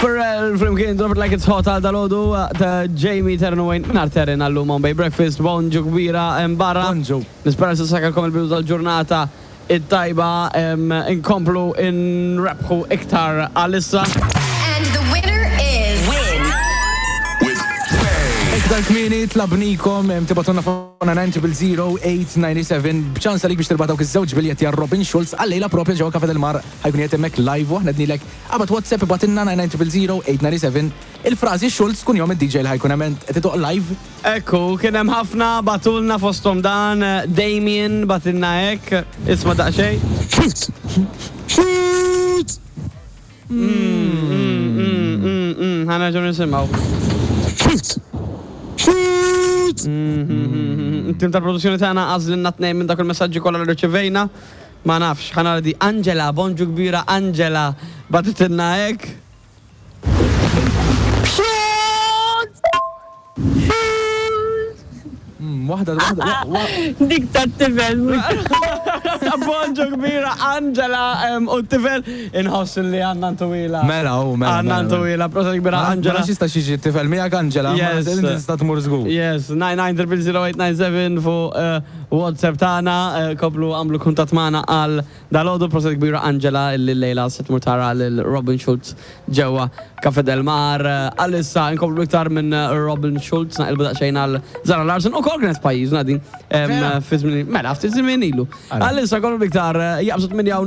Pharrell flimkien Drop It Like It's Hot għal dalodu ta' Jamie Terren u Wayne minn Terren għallu Bombay Breakfast, bonġu kbira barra. Bonġu. Nispera se sakalkom il-bidu tal-ġurnata it-tajba inkomplu nrebħu iktar għalissa. And the winner is. Win. With Bay. Iktar kmieni tlabnikom tibgħatulna fuq 9000897 b'ċans għalik biex tirbaħ dawk iż-żewġ biljetti għal Robin Schulz għal-lejla propja ġewwa Cafe del Mar ħa jkun qiegħed hemmhekk live u aħna qednilek qabad WhatsApp ibgħatilna 9000897 il-frażi Schulz kunjom id-DJ li ħa jkun hemm qed idoqq live. Ekku, kien hemm ħafna bagħtulna fosthom dan Damien bagħtilna hekk, isma' daqsxejn. Schulz! Schulz! Ħa nerġgħu nisimgħu. Schulz! Schulz! Tim tal-produzzjoni tagħna għażlilna tnejn minn dak il-messaġġi kollha li rċevejna. Ma nafx, ħa nara di Angela, bonġu kbira Angela, bagħtitilna hekk. Waħda, waħda, Dik tat-tifel mhux. Bonġu kbira Angela u t-tifel inħoss li għandna ntwila. Mela, u mela. Għandna mela, ntwila, proset kbira Angela. Angela. Ma jista' xiġi t-tifel miegħek Angela, ma Yes. inti tista' tmur żgur. Yes, 9900897 fuq eh, WhatsApp tagħna, eh, komplu għamlu kuntatt magħna għal dalgħodu proset kbira Angela illi llejla se tmur tara lil Robin Schulz ġewwa Cafe Del Mar. Eh, Għalissa nkomplu iktar minn eh, Robin Schulz naqilbu daqsxejn għal Zara Larson ukoll kienet f'pajjiżna din Vera? fi żmien mela ftit żmien ilu. Ara. Għalissa nkomplu iktar jaqbżu 8